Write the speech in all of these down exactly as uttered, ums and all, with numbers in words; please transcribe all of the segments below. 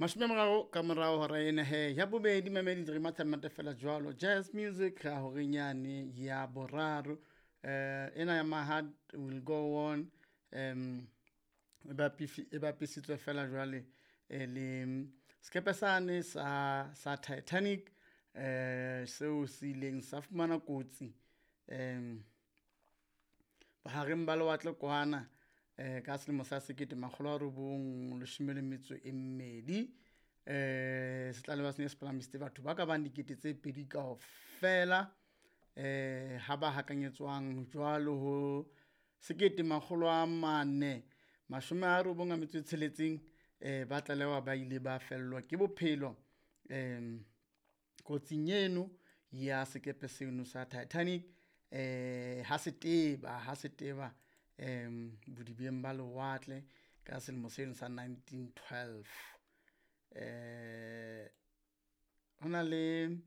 Mashome a mararo ka morao hora ena he ya bobedi mamedi re matha monate fela jwalo jazz music ha horeng yane ya boraro. Eh ena ya My Heart Will Go On um e bapifi e bapisitswe fela jwale e le sekepe sane sa sa Titanic eh seo se ileng sa fumana kotsi um bohareng ba lewatle kwana eh ka selemo sa sekete makgolo a robong leshome le metso e mmedi. Eh se tlalewa sene se palamisitse batho ba ka bang dikete tse pedi kaofela, eh ha ba hakanyetswang jwalo ho sekete makgolo a mane mashome a robong a metso e tsheletseng. Eh ba tlalewa ba ile ba fellwa ke bophelo um kotsing eno ya sekepe seno sa Titanic eh ha se teba, ha se teba um bodibeng ba lewatle ka selemo seno sa nineteen twelve. Eh ho na le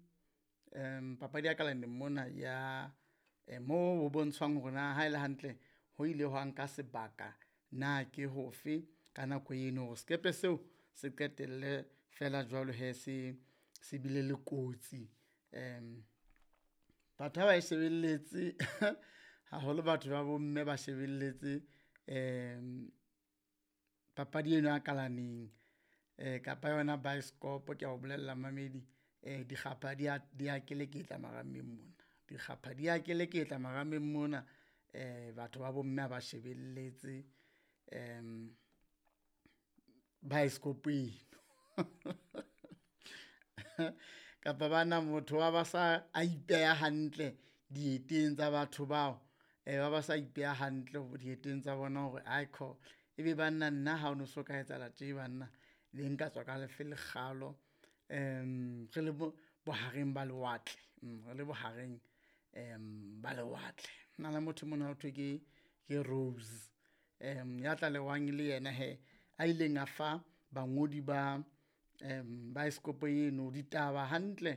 um papadi ya kalaneng mona ya mo ho bontshwang hore na haele hantle ho ile hwa nka sebaka na ke hofe ka nako eno hore sekepe seo se qetelle feela jwalo hee se se bile le kotsi. Um Batho ha ba e shebelletse haholo batho ba bomme ba shebelletse papadi eno ya kalaneng kapa yona baesekopo ke a o bolella momamedi. Dikgapha di a, di a keleketla marameng mona, dikgapha di a keleketla marameng mona. Batho ba bomme ha ba shebelletse baesekopo eno. Kapa bana motho wa ba sa a ipeha hantle dieteng tsa batho bao, ba ba sa ipeha hantle dieteng tsa bona hore aikhona ebe banna nna ha o no so ka etsahala tje banna ne nka tswa ka lefe lekgalo. Re le bohareng ba lewatle, re le bohareng ba lewatle. Ho na le motho mona ho thwe ke, ke Rose ya tlalewang e le yena hee a ileng a fa bangodi ba baesekopo eno ditaba hantle.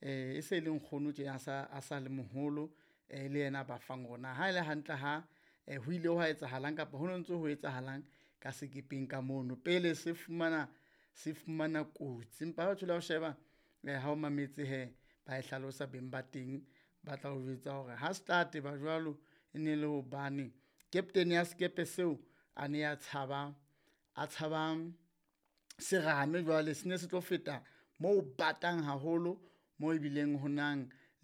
E se le nkgono tjena a sa, a sa le moholo e le yena a ba fang hore na haele hantle ha ho ile hwa etsahalang kapa ho no ntso ho etsahalang ka sekepeng ka mono pele se fumana, se fumana kotsi. Empa ha o thola o sheba ha o mametse hee ba e hlalosa beng ba teng, ba tla o jwetsa hore ha se tla teba jwalo, e ne le hobane captain ya sekepe seo a ne a tshaba, a tshaba serame jwale sene se tlo feta moo ho batang haholo moo ebileng ho nang